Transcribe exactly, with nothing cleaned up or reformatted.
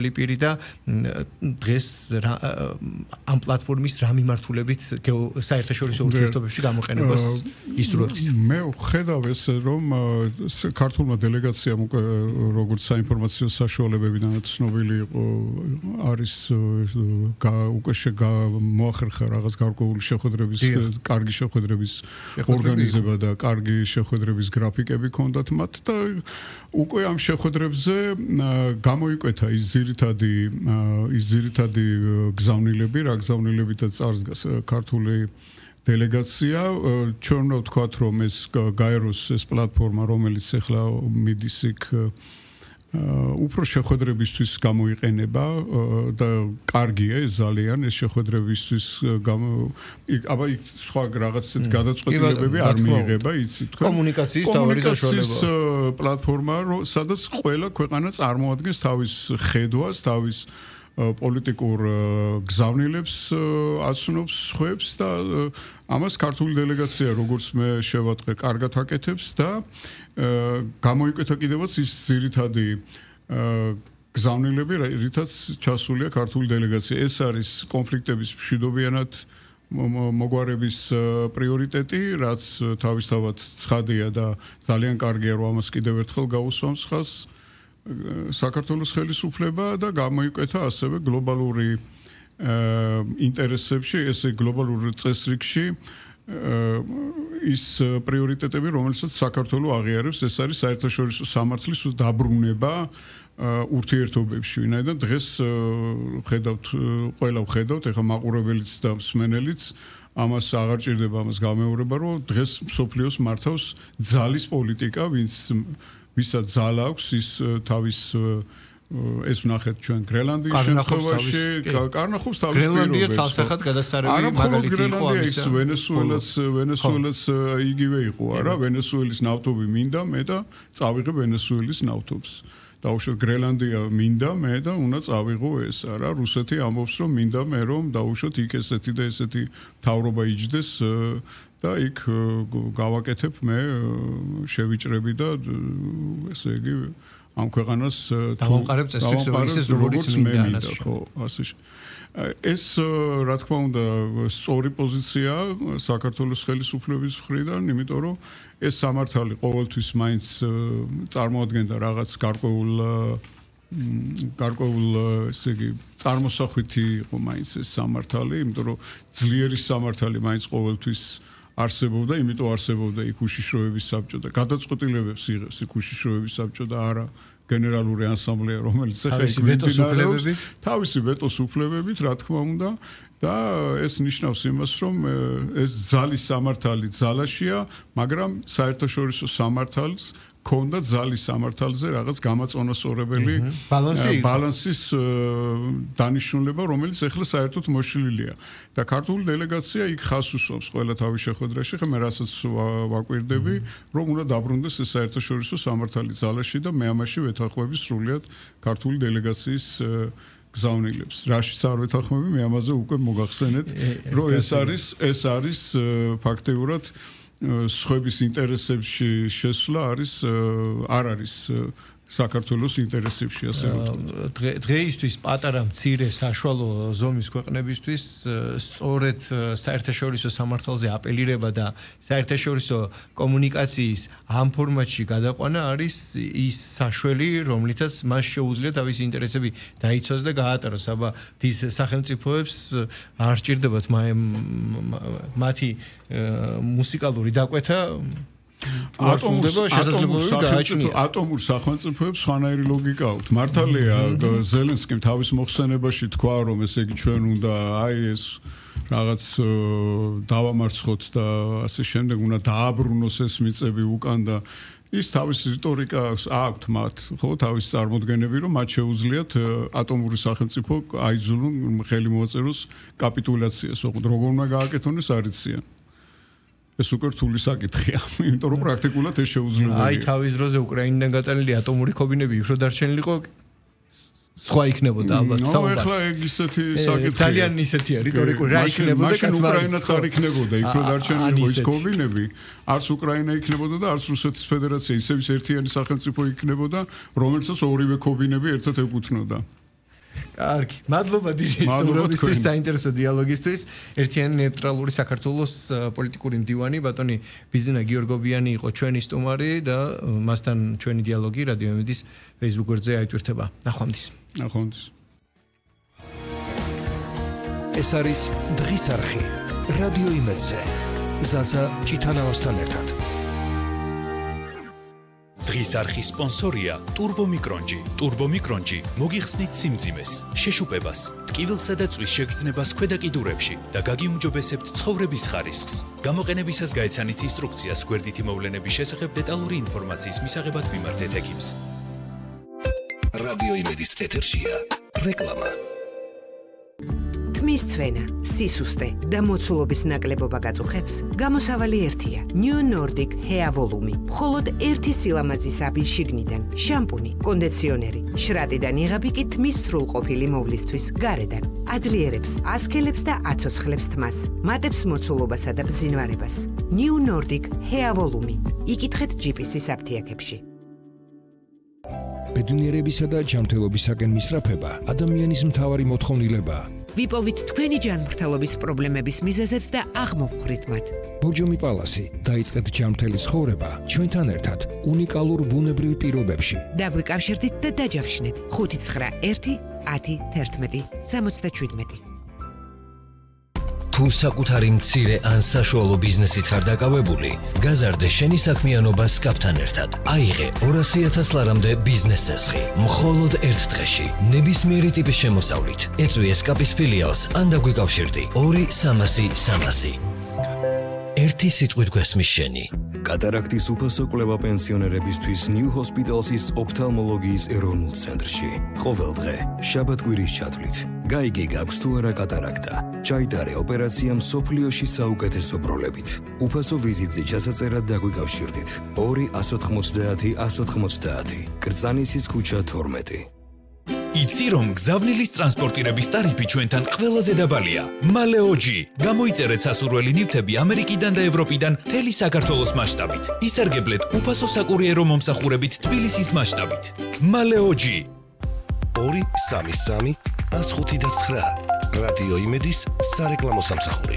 ლიპირი და დღეს ამ პლატფორმის რა მიმართულებით საერთაშორისო ურთიერთობებში გამოყენებას ისურვებს. მე ვხედავ ესე რომ ქართულმა დელეგაციამ უკვე როგორც საინფორმაციო საშუალებებიდან ცნობილი იყო არის უკვე მოახერხა რაღაც გარკვეული შეხვედრების კარგი შეხვედრების ორგანიზება და კარგი შეხვედრების გრაფიკები ჰქონდათ მათ და უკვე ამ შეხვედრებზე გამოიკვეთა ის ძირითადი ის ძირითადი გზავნილები რა გზავნილებითაც წარსდგას ქართული დელეგაცია ჩვენ უნდა ვთქვათ რომ ეს გაეროს ეს პლატფორმა რომელიც ახლა მიდის იქ უფრო შეხვედრებისთვის გამოიყენება და კარგია ეს ძალიან ეს შეხვედრებისთვის აბა იქ სხვა რაღაც გადაწყვეტილებები არ მიიღება იცი თქვენ კომუნიკაციის თავი საშუალება პლატფორმა სადაც ყველა ქვეყანა წარმოადგენს თავის ხედვას თავის პოლიტიკურ გზავნილებს აცნობს ხვებს და ამას ქართული დელეგაცია როგორც მე შევატყე კარგად აკეთებს და გამოიკვეთა კიდევაც ის ძირითადი გზავნილები რითაც ჩასულია ქართული დელეგაცია ეს არის კონფლიქტების მშვიდობიანად მოგვარების პრიორიტეტი რაც თავისთავად ცხადია და ძალიან კარგია რომ ამას კიდევ ერთხელ გაუსვამს ხაზს საქართველოს ხელისუფლება და გამოიკვეთა ასევე გლობალური ინტერესებში ესე გლობალურ წესრიგში ის პრიორიტეტები რომელსაც საქართველოს აღიარებს ეს არის საერთაშორისო სამართლის დაბრუნება ურთიერთობებში ვინაიდან დღეს ხედავთ ყველა ხედავთ ეხა მაყურებელიც და მსმენელიც ამას აღარ ჭირდება ამას გამეორება რომ დღეს მსოფლიოს მართავს ძალის პოლიტიკა ვინც ვისაც ძალა აქვს ის თავის ეს ვნახეთ ჩვენ გრენლანდიის შემთხვევაში კარნახობს თავის გრენლანდია ცალსახად გადასარევი მაგალითი იყო ამის ვენესუელას ვენესუელას იგივე იყო არა ვენესუელის ნავთობი მინდა მე და წავიღე ვენესუელის ნავთობს დაუშვათ გრენლანდია მინდა მე და უნდა წავიღო ეს არა რუსეთი ამბობს რომ მინდა მე რომ დაუშვათ იქ ესეთი და ესეთი თავრობა იჯდეს და იქ გავაკეთებ მე შევიჭრები და ესე იგი ამ ქვეყანას დავამყარებ წესრიგს ისე როგორც მინდა ხო ასე ეს რა თქმა უნდა სწორი პოზიცია საქართველოს ხელისუფლების მხრიდან იმიტომ რომ ეს სამართალი ყოველთვის მაინც წარმოადგენდა რაღაც გარკვეულ გარკვეულ ესე იგი წარმოსახვითი იყო მაინც ეს სამართალი იმიტომ რომ ძლიერი სამართალი მაინც ყოველთვის არსებობდა, იმიტომ არსებობდა იქ უშიშროების საბჭო და გადაწყვეტილებებს იღებს იქ უშიშროების საბჭო და არა გენერალური ასამბლეა, რომელიც ახლა იქ მიმდინარეობს თავისი ვეტოს უფლებებით, რა თქმა უნდა, და ეს ნიშნავს იმას, რომ ეს ძალის სამართალი ძალაშია, მაგრამ საერთაშორისო სამართალს ქონდა ძალის სამართალზე რაღაც გამაწონასწორებელი ბალანსის დანიშნულება, რომელიც ახლა საერთოდ მოშლილია. და ქართული დელეგაცია იქ ხაზს უსვამს ყველა თავის შეხვედრაში, ხომ რასაც ვაკვირდები, რომ უნდა დაბრუნდეს ეს საერთაშორისო სამართალი ძალაში და მე ამაში ვეთანხმები სრულიად ქართული დელეგაციის გზავნილებს. რაშიც არ ვეთანხმები, მე ამაზე უკვე მოგახსენეთ, რომ ეს არის ეს არის ფაქტიურად სხვების ინტერესებში შესვლა არის არ არის საქართველოს ინტერესებში ასე ვთქვათ. დღეისთვის პატარა მცირე საშუალო ზომის ქვეყნებისთვის სწორედ საერთაშორისო სამართალზე აპელირება და საერთაშორისო კომუნიკაციის ამ ფორმატში გადაყვანა არის ის საშველი, რომლითაც მას შეუძლია თავისი ინტერესები დაიცვას და გაატაროს. აბა დიდ სახელმწიფოებს არ სჭირდებათ მათი მუსიკალური დაკვეთა ატომურ სახელმწიფოებს სხვანაირი ლოგიკა აქვს. მართალია ზელენსკიმ თავის მოხსენებაში თქვა რომ ესე იგი ჩვენ უნდა აი ეს რაღაც დავამარცხოთ და ასე შემდეგ უნდა დააბრუნოს ეს მიწები უკან და ის თავის რიტორიკა აქვს მათ ხო თავის წარმოდგენები რომ მათ შეუძლიათ ატომური სახელმწიფო აიძულონ ხელი მოაწეროს კაპიტულაციას ოღონდ როგორ უნდა გააკეთონ ეს არ იციან ეს უკვე რთული საკითხია იმიტომ რომ პრაქტიკულად ეს შეუძლებელია აი თავის დროზე უკრაინიდან გაწანილი ატომური ქობინები უფრო დარჩენილიყო სხვა იქნებოდა ალბათ საუბარი. ნუ ახლა ეგ ისეთი საკითხია. ძალიან ისეთია რიტორიკული რა იქნებოდა კაც უკრაინაც არ იქნებოდა, იქ რო დარჩენილიყო ის ქობინები, არც უკრაინა იქნებოდა და არც რუსეთის ფედერაცია, ისევ ერთიანი სახელმწიფო იქნებოდა, რომელსაც ორივე ქობინები ერთად ეკუთვნოდა. კარგი, მადლობა დიდი სტუმრობისთვის, საინტერესო დიალოგისთვის. ერთიანი ნეიტრალური საქართველოს პოლიტიკური მდივანი ბატონი ბიზნა გიორგობიანი იყო ჩვენი სტუმარი და მასთან ჩვენი დიალოგი რადიო იმედის Facebook გვერდზე აიტვირთება. ნახვამდის. ნახვამდის. ეს არის დღის არხი. რადიო იმედზე. ზაზა ჭითანავასთან ერთად. დღის არხის სპონსორია Turbo Micronji. Turbo Micronji მოგიხსნით სიმძიმეს, შეშუპებას, ტკივილსა და წვის შეგრძნებას ქვედა კიდურებში და გაგიუმჯობესებთ ცხოვრების ხარისხს. გამოყენებისას გაეცანით ინსტრუქციას გვერდითი მოვლენების შესახებ დეტალური ინფორმაციის მისაღებად მიმართეთ ექიმს. რადიო იმედის ეთერშია რეკლამა. თმის ცვენა, სისუსტე და მოცულობის ნაკლებობა გაწუხებს, გამოსავალი ერთია. New Nordic Hair Volume. მხოლოდ ერთი სილამაზის აბი შიგნიდან, შამპუნი, კონდიციონერი, შრატიდან იღები კი თმის სრულყოფილი მოვლისთვის გარედან. აძლიერებს, ასქელებს და აცოცხლებს თმას, მატებს მოცულობასა და ბზინვარებას. New Nordic Hair Volume. იკითხეთ ჯიპისის აფთიაქებში. ბედნიერებისა და ჯანმრთელობისაკენ მისწრაფება ადამიანის მთავარი მოთხოვნილებაა. ვიპოვით თქვენი ჯანმრთელობის პრობლემების მიზეზებს და აღმოვხვრით მათ. ბოჯომი პალასი დაიწყეთ ჯანმრთელი ცხოვრება ჩვენთან ერთად უნიკალურ ბუნებრივ პირობებში. დაგვიკავშირდით და დაჯავშნეთ ხუთი ცხრა ერთი ათი თერთმეტი სამოცდაშვიდმეტი. თუ საკუთარი მცირე ან საშუალო ბიზნესით ხარ დაკავებული, გაზარდე შენი საქმიანობა სკაპთან ერთად. აიღე ორასი ათას ლარამდე ბიზნეს წესხი, მხოლოდ ერთ დღეში, ნებისმიერი ტიპის შემოსავლით. ეწვი სკაპის ფილიალს ან დაგვიკავშირდი ორი სამასი სამასი. ერთი სიტყვით გვესმის შენი. კატარაქტის უფასო კვლევა პენსიონერებისთვის New Hospital's ოფთალმოლოგიის ეროვნულ ცენტრში. ყოველ დღე, შაბათ-კვირის ჩათვლით. გაიგე გაქვს თუ არა კატარაქტა. ჩაიტარე ოპერაცია მსოფლიოში საუკეთესო პროლებით. უფასო ვიზიტზე ჩასაწერად დაგვიკავშირდით. ორი ასი ოცდაათი ასი ოცდაათი. კრწანისის ქუჩა თორმეტი. იცი რომ გზავნილის ტრანსპორტირების ტარიფი ჩვენთან ყველაზე დაბალია. მალეოჯი. გამოიწერეთ სასურველი ნივთები ამერიკიდან და ევროპიდან მთელი საქართველოს მასშტაბით. ისარგებლეთ უფასო საკურიერო მომსახურებით თბილისის მასშტაბით. მალეოჯი. ორი სამი სამი ას ხუთი და ცხრა. რადიო იმედის სარეკლამო სამსახური.